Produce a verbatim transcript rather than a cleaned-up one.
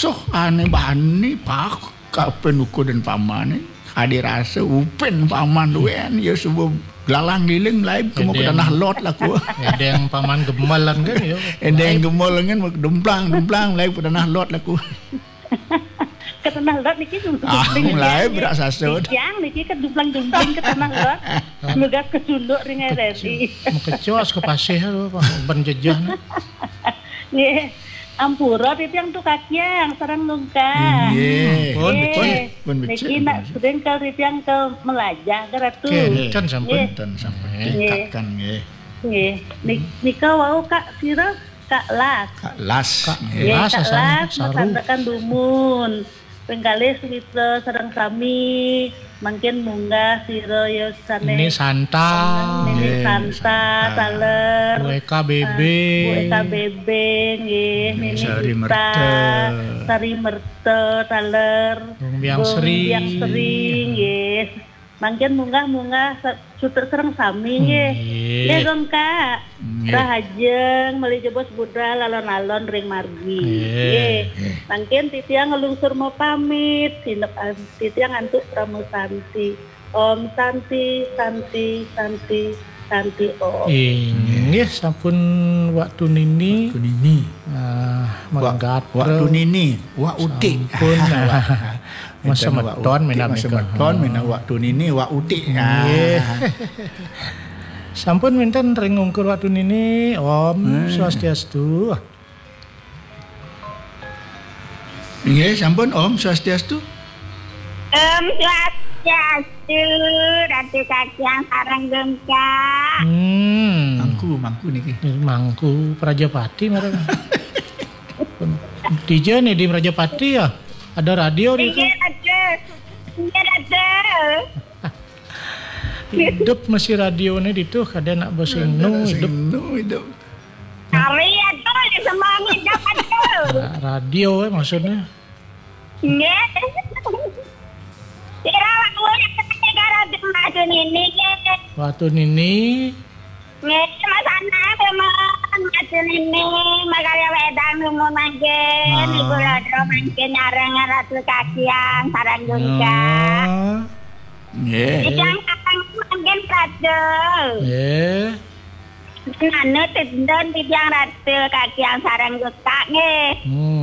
Soh, ane bani pak, kapen uku dan pamane. Ade rasa upen paman duen, ya subuh gelalang liling, laib kemu ke tanah lot laku. Edeng paman gemelan kan, ya. Edeng gemelan kan, demplang, demplang, laib ke tanah lot laku. Ke tanah lot niki, ah, laib berak sasut. Yang niki ke demplang-dempling ke tanah lot. Lugas ke sunduk ring R R I. Mekecos ke pasih tu, Pak. Ban jejah ni. Nggih. Ampura titiang tu kakiang sareng nungkah. Nggih. Pun becik, pun becik. Niki nak sering ke titiang ke melajah ke Ratu. Nggih. Kan sampun. Nggih. Kan sampun. Nggih. Tingkatkan, nggih. Nggih. Nik-, nika wau Kak sira, Kak Las. Kak Las. Kak Las, Kak Las, masandekan dumun. Penggalih sumitra sareng sami, mangkin munggah sira ya sane. Nini Santa. Nini Santa, taler. Bu Eka Bebe. Bu Eka Bebe, nggih. Nini Sari Merta. Sari Merta, taler. Bung Biang Sri. Bung Biang Sri, nggih. Mangkin munggah-munggah sa-, sutra sareng sami, nggih. Nggih. Nggih, Gong Kak. Nggih. Rahajeng, malih jebos budal alon-alon ring margi. Nggih. Nggih. Mangkin titiang nglungsur mapamit, sinep an-, titiang antuk Parama Santi. Om Santi, Santi, Santi, Santi Om. Inggih, sampun waktu nini. Waktu nini. Ah, Wak-, manggater. Waktu nini, wak utik. Sampun. Masa meton minab nika. Masa meton minab waktu nini, wak utik. Nggih. Sampun wenten ring ungkur waktu nini. Om Swastiastu. Nggih, sampun, Om Swastiastu. Om Swastiastu, Ratu Kakiang sareng Gong Kak. Hmm. Mangku, mangku niki. Mangku Prajapati marang. Dija ni di Prajapati ya? Ada radio di. Inggih, Ratu. Inggih, Ratu. Hidup masih radio ni ditu, kada nak basing nu hidup. Nu hidup. Hari atuh, di semua hidup atuh. Nah, radio, eh, maksudnya. Nggih. Kira waktu yang ketika Ratu Madu nini, nggih. Waktu nini. Nggih, Mas Anang, temen Madu nini, makarya wedang numun mangkin, Ibu Lodro mangkin nyareng Ratu Kakiang, sareng Gong Kak. Nggih. Titiang kakang mangkin Ratu. Nggih. Anu tendon titiang Ratu Kakiang sareng Gong Kak, nggih. Hmm.